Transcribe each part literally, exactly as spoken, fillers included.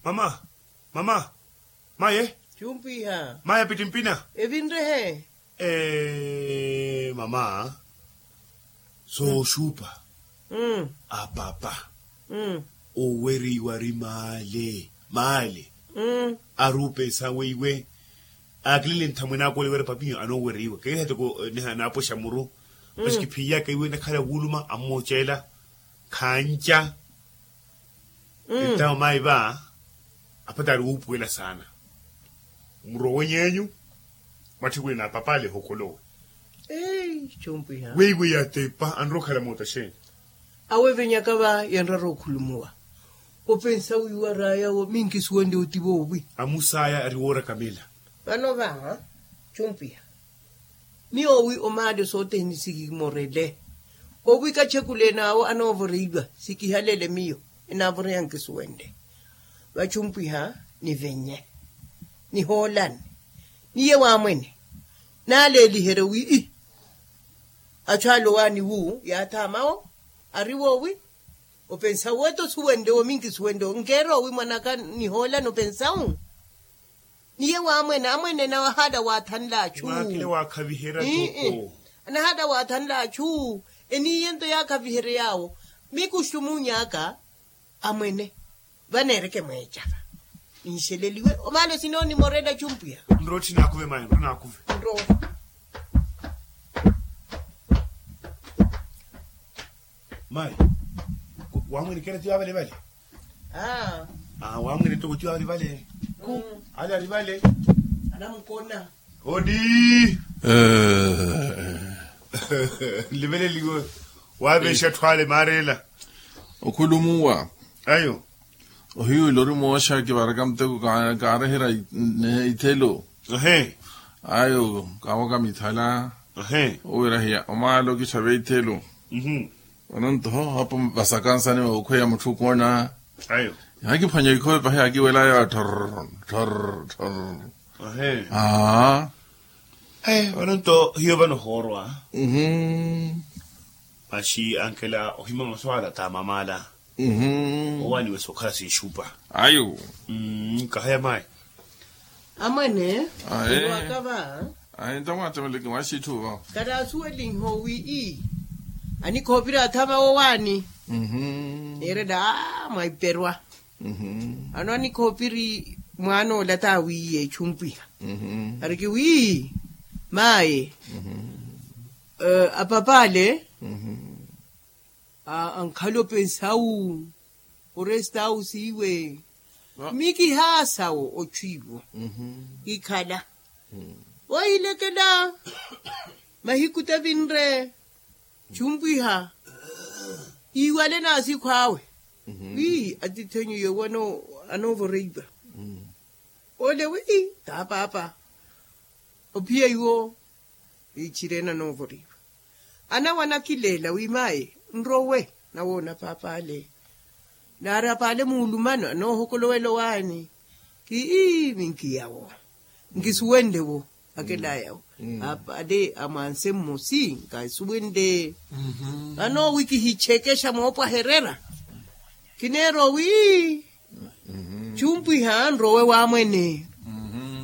Mama, mama, maye. Chumpiha. Maye apittimpina. Evinrehe. Eee mama, sooxupa, apapa, owereiwa ari maale maale. Ari opensa weiwe akilele nthamwene ako ole wira papiyo anoowereiwa keeha toko. Niha naapoxa muru. Masi kiphiiyaka iwe nakhala wuuluma ammooceela khanca. Entawo mayi va apatari wuupuwela saana. Murowe ny'enyu. Mwatthikwene na papale ehokolowe. Weiwe yatepa anrowa okhala moota xeeni? Awe venyaka va yanrara okhulumuwa. Opensa wiiwa raya wo minkisuwende oti voowi. Amusaya ari woorakamela. Vano va chumpiha. Miyo wi omaale sothene sikimorele. Owi kachekulene awo anoovoreiwa sikihalele miyo enaavoreya nkisuwende. Vachumpwiha nivenye nihoolani niye waamwene. Naaleeliherye wi ii achu alowaani wu yaathaama wo ari woowi. Opensa wu eto suwenle wo minkisuwenle wo nkeera owi mwanaka nihoolani opensa wu. Niye waamwene amwene nahala waathanle achu. Anahala waathanle achu. Eniiye nto yaakhaviherye yaawo. Mikuxumunyaaka amwene vaneereke mweecava. Ninxeleliwe omaalo sinoonimorela chumpwiha. Nrotthe naakuve mayi nrotthe naakuve. Nrotthe. Mayi waamwene kera tiyo avalevale. Aaa waamwene toko tiyo avalevale. Khu ale arivale. Anamukona. Odi. Nliveleliwe. Waaveexa atthu ale maareela. Okhulumuwa. Ayo. Ohiwile ori mooxa kivaraka muteko kaareherya ithelo. Ayo kaawaka mithala. Owira hiya omaalo kitthaveya ithelo. Vano nto apo vasakansani okhweya mutthu okoona. Yaakiphwanya ikhope pahi yaakiwelaya thorr thorr thorr. Aaa. Vano nto hiyo vano hoorwa. Masi ankela ohima maswala ta mamala. Owaani wesi okhala sinxupa. Ayo. Kahaya mayi. Amwene. Aye. Waka va. Aye ntamwatemeleke mwaxitthu va. Kataasuwelinho wi ii anikhoopiri athama wowaani. Neerela aa mwaiperwa. Ano anikhoopiri mwaan'ola taawiiye echumpwiha. Ariki wi maye apapale. Ankhala opensawu orestawu siiwe. Mikihaasa wo ochu iwo kikhala. Wohilekela mahiku tavinre chumpwiha iwale nasikhu awe. Wi atithenyu yowo anoovoreiwa. Ole wi tapaapa ophiya iwo. Ichirena noovoriwa anawe anakileela wi maye nrowe nawoona paapale. Naari apaale muulumano anoohokolowela owaani. Kii minkiyawo nkisuwenle wo. Akelayawo apaale amwanse mmosi nkasuwenle. Vano wi kihichekexa moopwaherera kineera owi chumpwiha nrowe wamwene.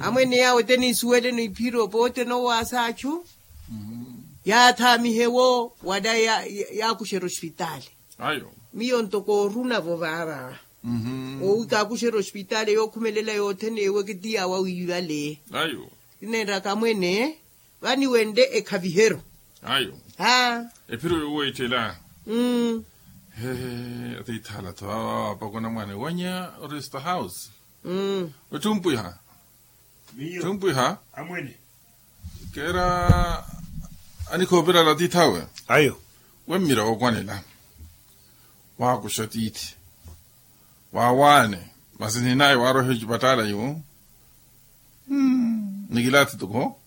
Amwene yawe te niisuweleno iphiro poote nowaasa achu yaathaamihe wo wala yaakuxerya ospitaali. Miyo ntoko orunavo vaava owi kaakuxerya ospitaali yookhumelela yothene ewe kitiyawa wiivale. Kinenraka amwene vaniwenle ekhaviheryo. Ephiro yoweettela. Hee atiithaala-tho awo apakona mwaana ewanya oresta house. Ettumpwiha ettumpwiha. Keera anikhoopirala atiith'awe. Wemmira wookwanela waakuxa tiithi waawaane. Masi ninaye waaroiha ecipattaala iwo. Nikilaathi toko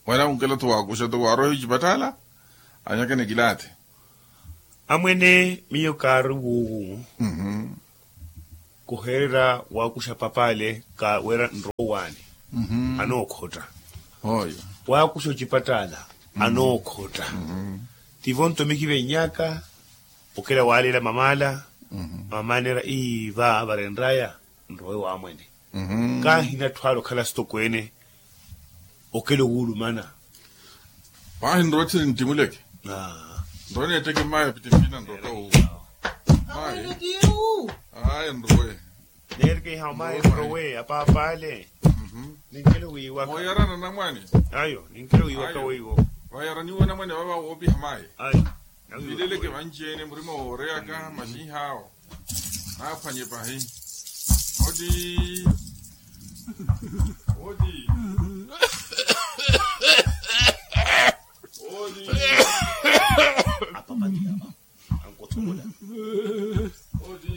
wala unkela-tho waakuxa toko waaroiha ecipattaala anyaka nikilaathi. Amwene miyo kaari wuuwu kuhererya waakuxa papaale ka wira nrowaani. Anookhotta waakuxa ocipattaala anookhotta. Tivo nto mikivennyaka okela waaleela mamaala. Mamanera ii va varenraya nrowe wamwene. Kaahina atthu ale okhala sitokweene okela owulumana. Paahi nrowe tthi nintimuleke. Nrowe neetteke mmayi apitimpina nroka wu. Mmayi. Aya nrowe. Neereke iha omayi nrowe apaapale. Ninkele wiiwaka. Mooyarana namwane. Ayo ninkele wiiwaka weiwo. Vayaraniwe namwane vava woopiha mayi. Ayo. Vileleke vanci-ene murima wooreyaka maxinhaawo. Naaphwanye pahi. Oti. Oti. Oti. Ankothomola. Oti.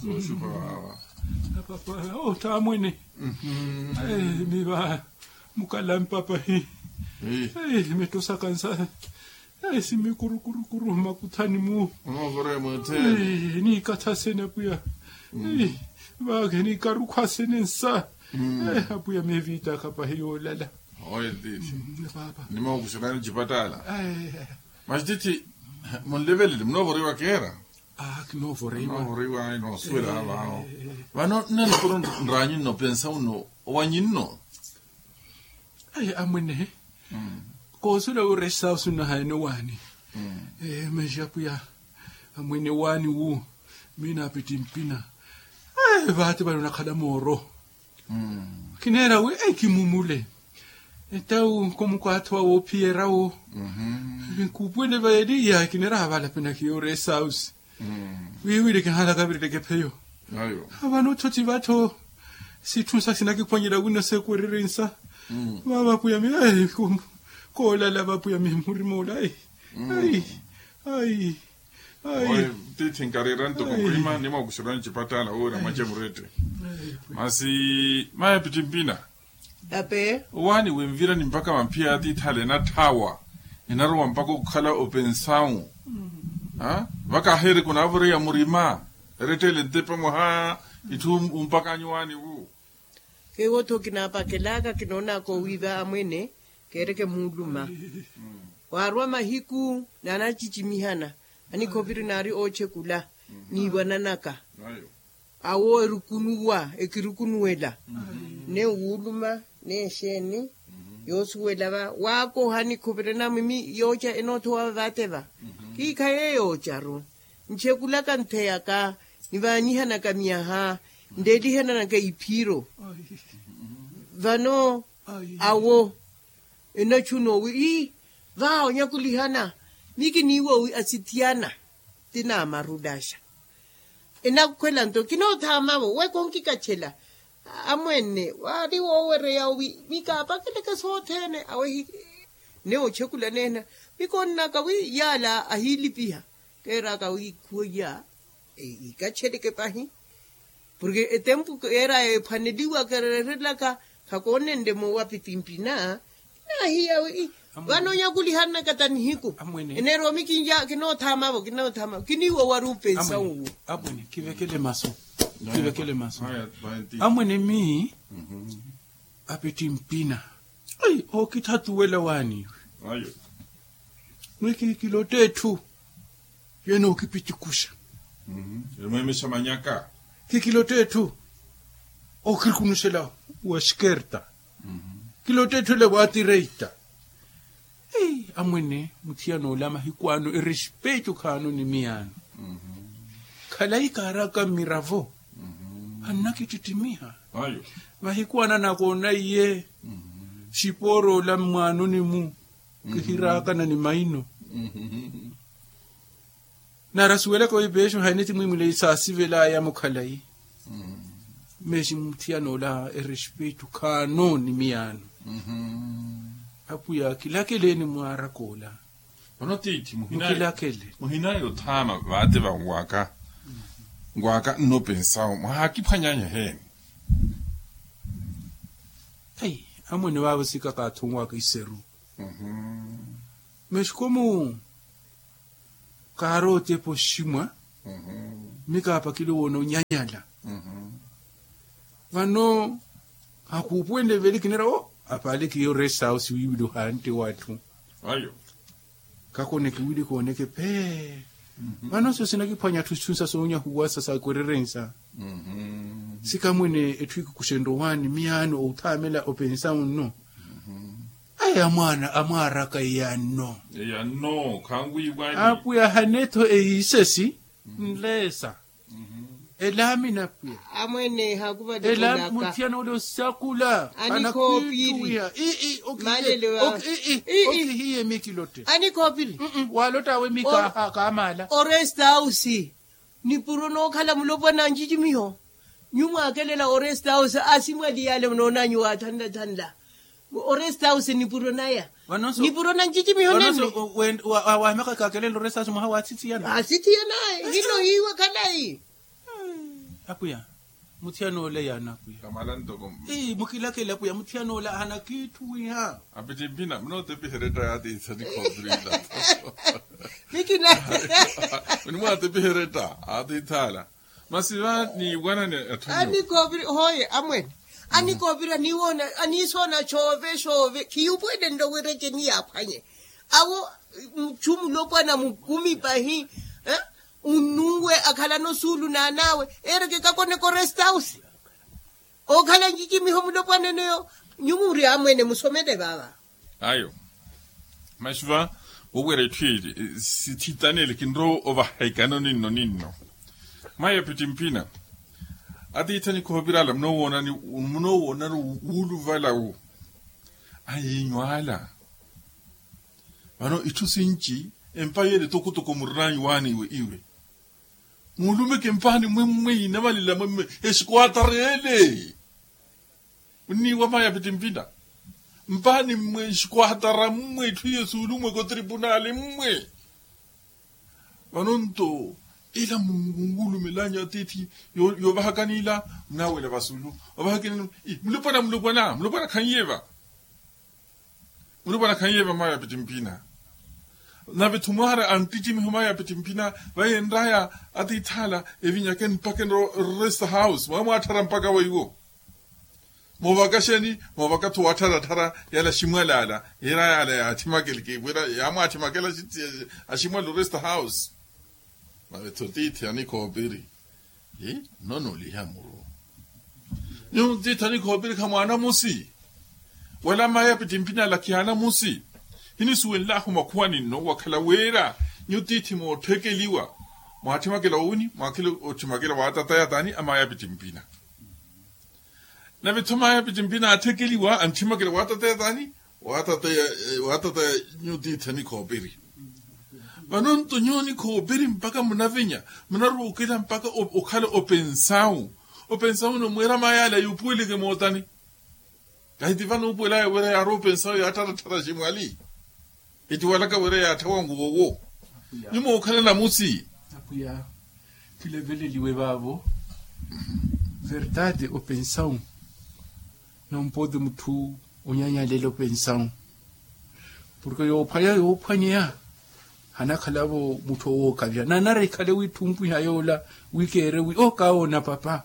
Sooxupa vava. Apapa otta amwene. Miva mukala mpapa hi. Mittosa kansa. Simi kurukurukuru mmakuthani-mu. Niikatha sene apwiya. Vaakhe niikarukhwa sene nsa. Apwiya meeviitaka pahi yoolala. Oye tiithi. Nimookuxerani ocipattaala. Masi tiithi munlevelele munoovoriwa keera. Noosuwela vavo. Vano nnanukuru nraanyu nno pensa uno owanyu nno. Ayi amwene. Koosuwela wi oresta osunahaene owaani. Masi apwiya amwene owaani wu. Miina apittimpina. Vaati vale onakhala mooro. Kineera wi kimumule. Entawu nkomukwatho wa woophiyerya wo. Nkuupwele vayeliya kineera vale apenakhiye oresta osi. Wiiwile kihaala kavireleke pheyo. Vano otthoti vattho sitthu nsa sinakiphwanyela wino seekwererye nsa. Vava apwiyami. Koolala vapwiyami murima ola. Ayi. Ayi. Tiithi nkareera ntoko murima nimookuxerani ocipattaala woowerya mwace murette. Masi mayi apittimpina. Ape. Owaani winvirani mpakha vamphiya ya tiithale enatthaawa. Enarowa mpakha okhala opensawu. Vakaaheereke onaavoreya murima. Erettele ntepa mwaha itthu umpakanyu owaani wu. Keewo-tho kinaapakelaka kinoonaka owiiva amwene. Keereke muuluma. Waarwa mahiku naanacicimihana. Anikhoviri naari oochekula. Niiwananaka. Awo erukunuwa ekirukunuwela. Ne wuuluma ne exeeni. Yoosuwela va waakoha nikhuvirena mwimi yooca enoothowa vavateva. Kiikhaye yoocaru nchekulaka ntheyaka. Nivaanyihanaka miyaha nleelihananaka iphiiro. Vano awo enachuna owi ii. Vaawo nyakulihana mi kiniiwa owi asithiyana. Ti naamarudaxa enakhwela nto kinoothaamavo we konkikachela. Amwene waari woowereya owi mikaapakeleke sothene awehi. Ne ochekula neena mikonnaka wi yaala ahiilipiha. Keeraka wi khuweiya ikacheleke pahi. Porke etempu keeraya ephwaneliwa kereerelaka khakoonenle moowa apitimpina. Naahiya wi vano onyakulihanaka ta nihiku. Eneerowa mi kinoothama vo kinoothama vo kiniiwa wari upensa uwo. Amwene kivekele masu. Kivekele masu. Amwene mi apitimpina. Ai ookithathuwela waaniiwe. Mwi kikilotta etthu. Yeene ookipitikuxa. Emweemexa manyaka. Kikilotta etthu. Ookirikunuxela wa xikerta. Kilotta etthu ele wa tireita. Amwene muthiyana ola mahiku ano erespetu khaano ni miyaano. Khalayi kaaraka mmiravo. Annakittittimiha. Mahiku ano anakoona iye. Xipoora ola mmwaanoni-mu. Kihiraakana ni maino. Nari asuwelaka wi peexo haine ti mwimwileyi saasivelaya mukhalayi. Meexi muthiyana ola erespetu khaano ni miyaano. Apwiya kilakeleeni mwaaraka ola. Ono tiithi muhinaye othama vaate vanwaka. Nwaka nnopensawo mwahaakiphwanyanya eheeni. Amwene vaavo sikaka athunwaka iseru. Mexikomu kaari otepa oximwa. Mikaapakile woona onyanyala. Vano akuupuwenle veli kinira o apaale kiyo resta house wiiwile ohantte w'atthu. Kakone kiwili kooneke phee. Vano soosi nakiphwanya atthu sithunsa soonyahuwasa sa kwererensa. Sikamwene etthu ikikuxenrye owaani miyaani outhaamela opensawu nno. Aya mwaana amwaaraka iyanno. Iyanno khanwiiwani. Apwiya hanetho eyiisesi nleesa. Elaamina pwiya. Amwene hakuva elaami muthiyana ole osakula. Anakhoopiri. Ii. Okihiye mikilotte. Anikhoopiri. Walotta awe mika kaamaala. Orestawusi nipuro nookhala mulopwana ncicimiho. Nyu mwaakelela orestawusi asimwali yaale munoonanyu waathanlathanla. Orestawusi nipuro naya. Nipuro na ncicimiho nenne. Waamaka kakelela orestawusi mwaha waathithiyana. Aathithiyana. Hino hiiwe khalayi. Apwiya, muthiyana ole yaana apwiya. Kamala ntoko. Mukilakele apwiya muthiyana ole ahana kitthu wiiha. Apittimpina munootepiheretta yaatiitha nikhoopiri ila. Nikina. Munimwaatepiheretta aatiitha ala. Masi va niiwanani atthu anyu. Anikoopiri hooye amwene. Anikoopiri aniisoona coove coove khiyupwelenlo wira eceni yaaphwanye. Awo muchu mulopwana mukumi pahi. Unnuwe akhalano suulu n'an'awe. Eereke kakoneke orestawusi. Okhala ncicimiho mulopwana eneyo. Nyu muri amwene musomele vava. Ayo. Masi va wowira etthu eli sithitanele kinrowa ovaha ikano ninno ninno. Maya pittimpina. Atiithi anikhoopiri ala munoowoonani wuuluvalawu. Ayiinyu ala. Vano itthu sinci empa yeele tokotoko murinaanyu waani iwe iwe. Muulumeke mpaani mmwe mmwe inavalela mmwe mmwe. Exikwaatara ele. Munniiwa maya pittimpina. Mpaani mmwe exikwaatara mmwe itthu yesuulumweke otripunaali mmwe. Vano nto ila munwulumelanyu atiithi yoovahakani ila. Munaawela vasulu ovahakeni. Mulopwana mulopwana mulopwana khanyiye va. Mulopwana khanyiye va maya pittimpina. Nave-tho mwaari anttitimiho maya pittimpina. Vayenraya atiithi ala evinyakeni mpakha enro rest house mwaamwaatthara mpakha weiwo. Moovaka xeeni? Moovaka-tho waattharattharya yala aximwali ala. Yira yala yaathimakeleke wira yaamwaathimakela aximwali orest house. Nave-tho tiithi anikhoopiri. Nnono oliha muru. Nyuwo tiithi anikhoopiri khamwaanamusi. Wala maya pittimpina ala khiyaanamusi. Hinisuwenlahu makhuwani nno wakhala wira nyuwo tiithi moottthekeliwa. Mwaathimakela owini mwaakhile otthimakela waatataya taani amaya pittimpina. Nave-tho maya pittimpina aatthekeliwa antthimakela waatataya taani. Waatataya nyuwo tiithi anikhoopiri. Vano nto nyuwo anikhoopiri mpakha munavenya munaruukela mpakha okhala opensawu. Opensawu nno mweera maya ala yuupuweleke mootani. Kahi ti vano uupuwelaya wira yaari opensawu yaattharattharya aximwali. Etiwalaka wira yaatthawa nguwo wo. Nyuwo mookhala namusi. Apwiya khileveleliwe vaavo. Verdade opensawu. Nompoti mutthu onyanyalela opensawu. Porke yoophwanya yoophwanyeya hanakhalavo mutthu owookavya nanara ikhale witthumpiha yoola. Wikeere wi okawoona papa.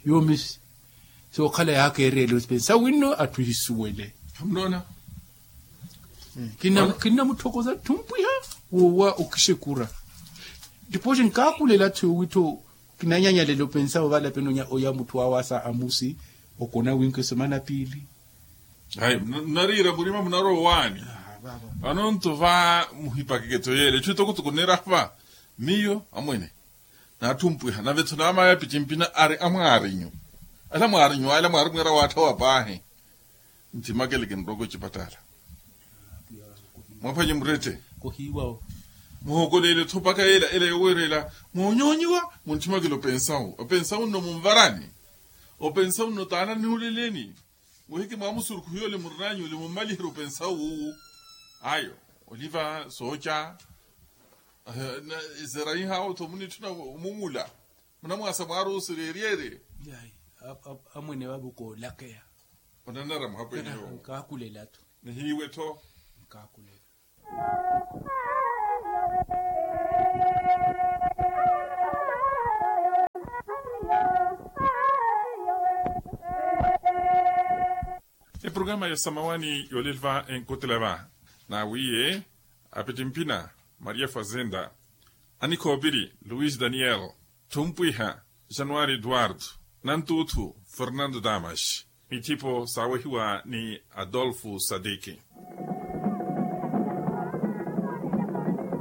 Yoomi sookhala yaakeereela opensawu winno atthu ehisuwele. Khamunoona. Kinnamutthokoza tthumpiha woowa okixekura. Tipooxi nkaakulela-tho yoowi-tho kinanyanyalela opensa ovalapeni oya mutthu awaasa amusi. Okona winke semana piili. Ayi munariira murima munaroowaani. Vano nto va muhipakeke-tho yeela etthu etokotoko neerahva. Miyo amwene naathumpwiha nave-tho naamaya pittimpina ari amwaarinyu. Ala mwaarinyu ala mwaarimwiira waatthawa paahi. Nthimakele kinroka ocipattala. Mwaphwanye murette. Muhookoleele-tho mpakha ela ela yoweerela moonyoonyiwa. Munthimakele opensawu opensawu nno munvarani. Opensawu nno taana nihuleleni. Muhiki mwaamusurukhu yoole murinaanyu ole mummaliherye opensawu wuwu. Ayo oliva sooca. Eseraihawo-tho munitthuna omungula. Munamwaasa mwaari osureeryerye. Amwene vaavo koolakeya. Onanara muhapweneyo. Nkaakulela-tho. Nihiiwe-tho. Nkaakulela. Eprograma ya samawani yoolelva enkotela va. Nawiye Apitimpina, maria fazenda, anikhoopiri luis daniel, thumpwiha, januari eduardo, nantuuthu, fernando damas, mithipo saawehiwa ni adolfo sadiki.